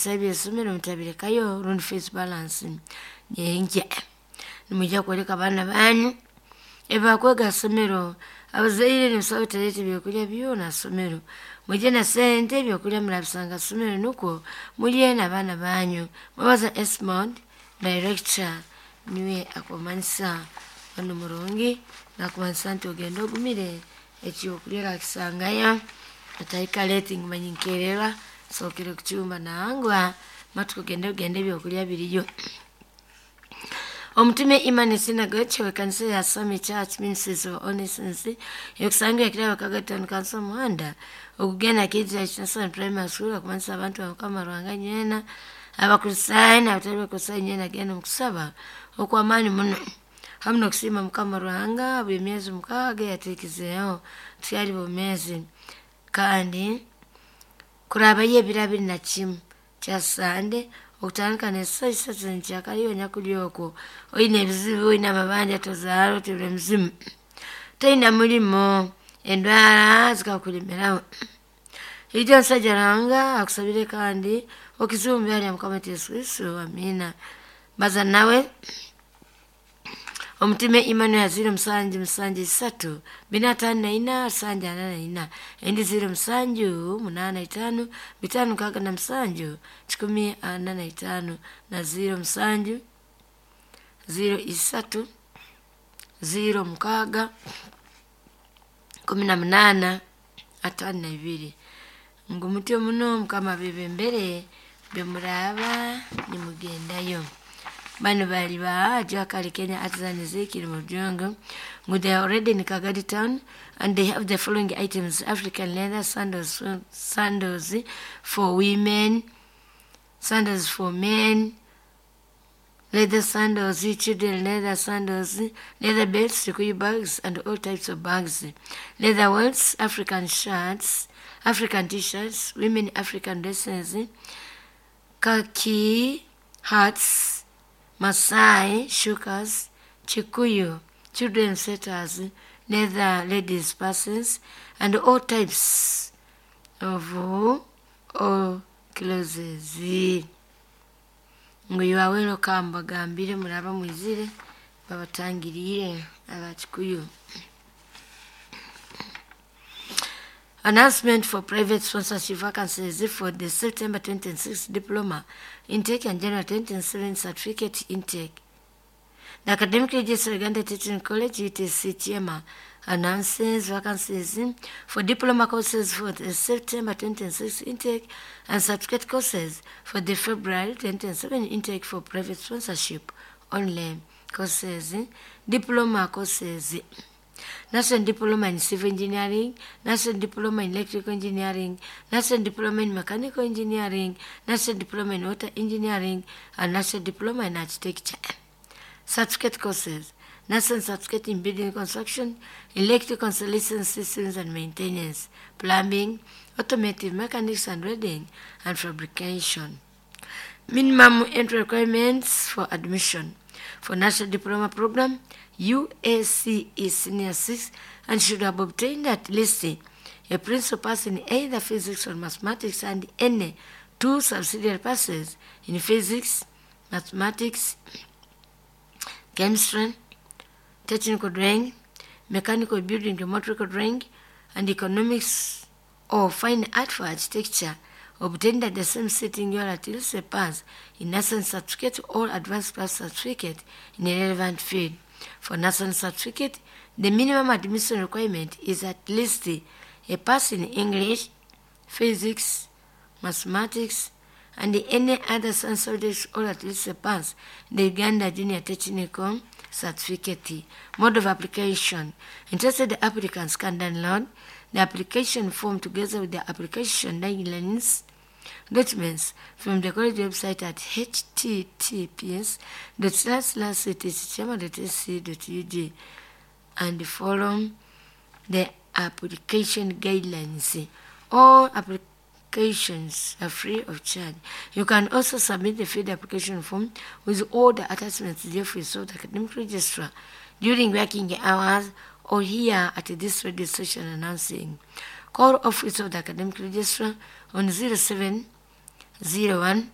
Ebisale by'isomero mutabirekayo rundi fees balance nyenkya. Nimwija kwoleka abaana banyu ebibakwega ha somero. Abazaire nimusaba mutaleeta ebyokulya byona ha somero. Mwije na sente, ebyokulya murabisanga ha somero nukwo mulye n'abaana banyu. Mwebaza Esmond, director, niwe akumanyisa onu murungi nakumanyisa nti ogenda ogumire, ekyokulya orakisangayo, otahika late ngu manya nkererwa nsookere kucumba. Nangwa, matuko genda ogende, ebyokulya biriyo. Omutume Emmanuel Synagogue w'ekanisa ya Sami Church Ministries of Holiness ekusangibwa Kirabo Kagaton Kansa omuhanda ogugenda Kiija National Primary School akumanyisa abantu ba Mukama Ruhanga nywena, Abakristaayo n'abatali Bakristaayo nywena, genda omu kusaba okw'amaani muno hamu n'okusiima Mukama Ruhanga buli myezi 6 eyatuhikizeeho tukyali bomeezi. Kandi kurabayo ebiro 21 kya Sande okutandika n'esaaha 3 nkyakara. Iwe nyakuli okwo oine ebizibu, oine amabanja, tozaara, otibire emizimu, toine mulimo, endwara zikakulemeraho, ija omusaija Ruhanga akusabire kandi okizibwe omu ibara lya Mukama waitu Yesu Kristo. Amiina. Baza nawe Omutume Emmanuel 077 454 744, endi 0785 567 145 na 07 03 06 18 52. Ngu mutyo muno Mukama abebembere bemuraaba nimugendayo. Bano bali ba Jakali Kenya Artisan Ezekiel Mujungu ngu they are already in Kagadi town and they have the following items: African leather sandals, sandals for women, sandals for men, leather sandals, children leather sandals, leather belts, Kikuyu bags and all types of bags, leather wallets, African shirts, African T-shirts, women African dresses, khaki hats, Masai shukas, Kikuyu children sweaters, leather ladies purses, and all types of all clothes. Ngu you are welcome, bagambire muraba mwizire babatangiriire Abakikuyu. Announcement for private sponsorship vacancies for the September 2026 diploma intake and January 2027 certificate intake. The Academic Registrar, Uganda Teaching College, UTC Kyema, announces vacancies for diploma courses for the September 2026 intake and certificate courses for the February 2027 intake for private sponsorship only. Courses: diploma courses, National Diploma in Civil Engineering, National Diploma in Electrical Engineering, National Diploma in Mechanical Engineering, National Diploma in Water Engineering, and National Diploma in Architecture. Certificate courses: National Certificate in Building Construction, Electrical Installation Systems and Maintenance, Plumbing, Automotive Mechanics and Welding, and Fabrication. Minimum entry requirements for admission. For National Diploma Program, UACE Senior 6 and should have obtained at least a principal pass in either physics or mathematics and any two subsidiary passes in physics, mathematics, chemistry, technical drawing, mechanical building, geometrical drawing, and economics or fine art for architecture obtained at the same sitting or at least a pass in national certificate or advanced class certificate in a relevant field. For national certificate, the minimum admission requirement is at least a pass in English, physics, mathematics, and any other science subjects or at least a pass in the Uganda Junior Technical Certificate. Mode of application. Interested applicants can download the application form together with the application guidelines documents from the college website at https://ctckyema.ac.ug and follow the application guidelines. All applications are free of charge. You can also submit the filled application form with all the attachments to the Office of the Academic Registrar during working hours or here at this radio station announcing. Call Office of the Academic Registrar on 0701